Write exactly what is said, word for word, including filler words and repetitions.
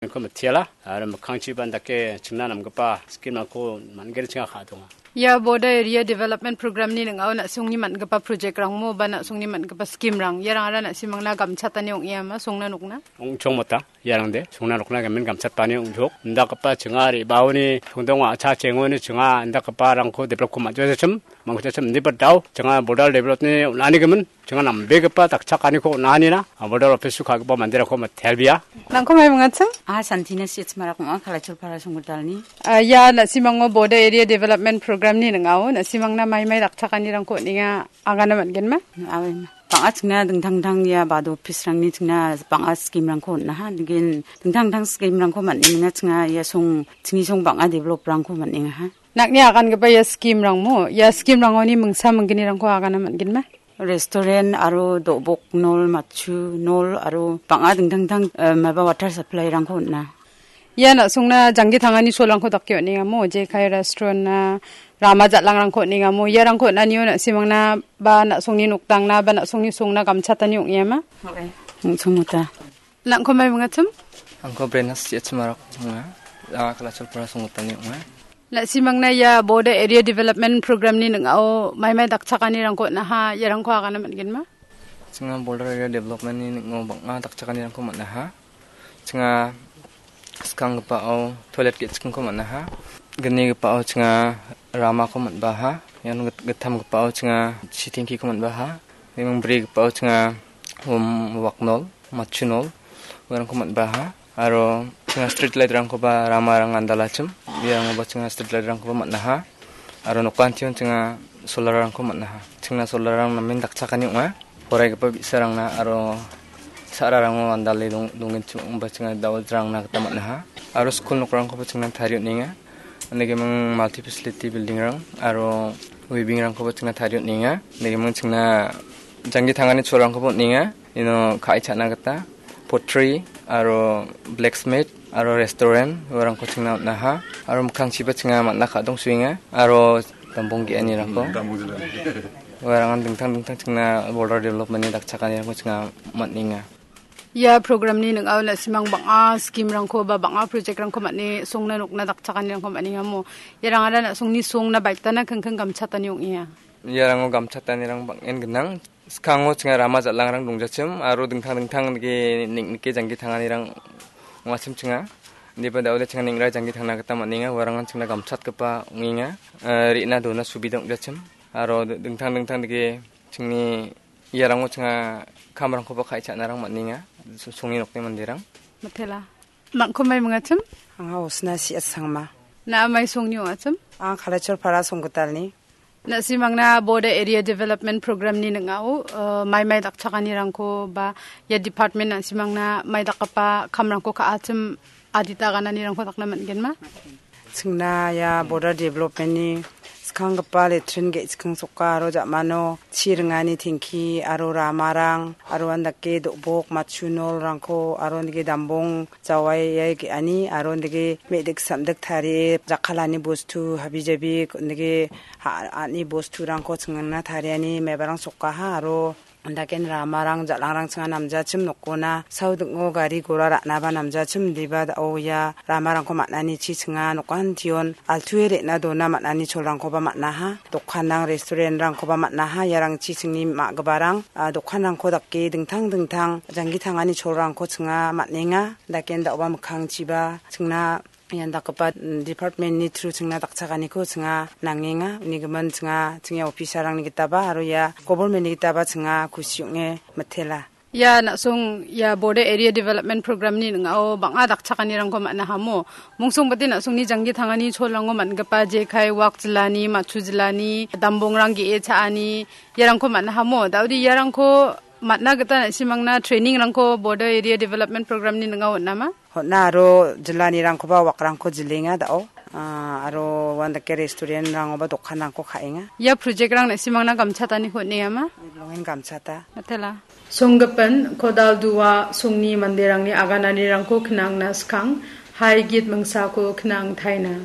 Ko mitiala, aro mikkangchiba dake chingna namgipa scheme-rangko man·gni chinga ka·donga. Ia Border Area Development Program-ni ning·ao na·songni man·gipa project-rangmo ba na·songni man·gipa scheme-rang, iarangara na·simangna gamchatani ong·eama songna nokna? Ong·chongmota, iarangde songna nokna gimin gamchatani ong·chok. Indakgipa chinga re·baoni songdonga, a·cha chengoni chinga indakgiparangko develop-ko man·jachim, man·jachim, indiba dao chinga border develop-ni on·ani gimin. Chinga nambegipa dakchakaniko on·anina, a, border office-o ka·gipa manderangko mitelbia. Nangko mai mingachim? Ah, Santina Sitsmarak ong·a, Kalachurpara Songgitalni. Ah, ia na·simango Border Area Development Program-ni ning·ao, na·simangna mai mai dakchakanirangko on·enga, agana man·genma? Awema. Bang·a chingna dingtang dingtang ia bado office-rangni chingna bang·a scheme-rangko on·aha. Dingin dingtang dingtang scheme-rangko man·enga chingna ia song, chingni song bang·a develop-rangko man·engaha. Nang·ni agangipa ia scheme-rangmo, ia scheme-rangoni mingsa minggnirangko agana man·genma? Restaurant aro do·bok nol, matchu nol aro bang·a dingtang dingtang, eh, maba water supply-rangko on·a. Ia na·songna janggi tangani cholrangko dake on·engamo, jekai restaurant-na, rama jal·angrangko on·engamo, iarangko on·anio na·simangna ba na·songni nokdangna ba na·songni songna gamchatani ong·eama? Ong·chongmota. Nangko mai mingachim? Angko Brenas Siachimarak ong·a. Anga Kalachurpara Songgitalni ong·a. Na·simangna ia Border Area Development Program-ni ning·ao mai mai dakchakanirangko on·aha, iarangko agana man·genma? Chinga Border Area Development-ni ning·o bang·a dakchakanirangko man·aha. Chinga skanggipao toilet ge·chikko man·aha. Gnigipao chinga ramako man·baha. Ian git-, gittamgipao chinga chi tengkiko man·baha. Ian brigipao chinga, um, waknol, matchunol, uarangko man·baha. Aro chinga street light-rangkoba ramarang andalachim. Iangoba chinga street light-rangkoba man·aha. Aro nokantion chinga solar-rangko man·aha. Chingna solar-rang namen dakchakani ong·a. Poraigipa bi·sarangna aro sa·rarango andale dong-, dongenchim ong·ba chinga da·o rangna gita man·aha. Aro skul nokrangkoba chingna tarie on·enga. Inde gimin multi facility building-rang aro weaving-rangkoba chingna tarie on·enga. Inde gimin chingna janggi tangani cholrangkoba on·enga. Ino ka·e cha·na gita pottery aro blacksmith aro restaurant uarangko chingna on·aha. Aro mikkangchiba chinga man·a ka·dongsoenga. Aro dambong ge·anirangko. Uarangan dingtang dingtang chingna border development-ni dakchakanirangko chinga man·enga. Ia program-ni ning·ao na·simang bang·a scheme-rangko ba bang·a project-rangko man·e songna nokna dakchakanirangko man·engamo. Iarangara na·songni songna baitana kingking gamchatani ong·enga. Iarango gamchatanirang bang·en gnang. Skango chinga rama jal·angrang dongjachim aro dingtang dingtang nike ning·, nike janggi tanganirang ong·achim chinga. Indiba da·ode chinga ning·ra janggi tangna gita man·enga. Uarangan chingna gamchatgipa ong·enga. Eh, re·na dona subida ong·jachim. Aro d-, dingtang dingtang dike chingni iarango chinga kamrangkoba ka·e cha·narang man·enga. So-, songni nokni manderang. Matela. Nangko mai mingachim? Anga Osna Siat Sangma. Na·a mai songni ong·achim? Anga Kalachurpara Songgitalni. Na·simangna Border Area Development Program-ni ning·ao, eh, mai mai dakchakanirangko ba ia department na·simangna mai dakgipa kamrangko ka·achim adita gananirangko dakna man·genma? Chingna ia Border Development-ni skanggipa latrine ge·chikingsoka aro ja·mano chi ringani tengki aro ramarang aro andake do·bok matchu nolrangko aro andake dambong jawaiai ge·ani aro indake me·dik samdik tarie jakkalani bostu habijabi indake ha-, a·ani bosturangko chingna tariani mebarang sokaha aro andaken ramarang jal·angrang chinga namjachim nokona saudingo gari gora ra·naba namjachim indiba da·o ia ramarangko man·ani chi chinga nokantion altue re·na dona man·ani cholrangkoba man·aha. Dokanrang, restaurant-rangkoba man·aha. Iarangchi chingni ma·giparang, a, dokanrangko dake dingtang dingtang janggi tangani cholrangko chinga man·enga. Daken da·oba mikkangchiba chingna ian dakgipa, mm, department-ni through chingna dakchakaniko chinga nangenga. Uni gimin chinga chingni officer-rangni gitaba aro ia government-ni gitaba chinga kusi ong·e mitela. Ia na·song ia Border Area Development Program-ni ning·ao bang·a dakchakanirangko man·a hamo. Mungsong bate na·songni janggi tangani cholrango man·gipa jekai wak jilani, matchu jilani, dambongrang ge·e cha·ani, iarangko man·a hamo. Da·ode iarangko man·a gita na·simangna training-rangko Border Area Development Program-ni ning·ao on·ama? Hon·a aro jilanirangkoba wakrangko jilenga da·o. Ah, aro uandake restaurant-rangoba dokanrangko ka·enga. Ia project-rang na·simangna gamchataniko on·engama? Bilongen gamchata. Matela. Songgipin Kodal Dua songni manderangni agananirangko knangna skang, hai git mingsako knang taina.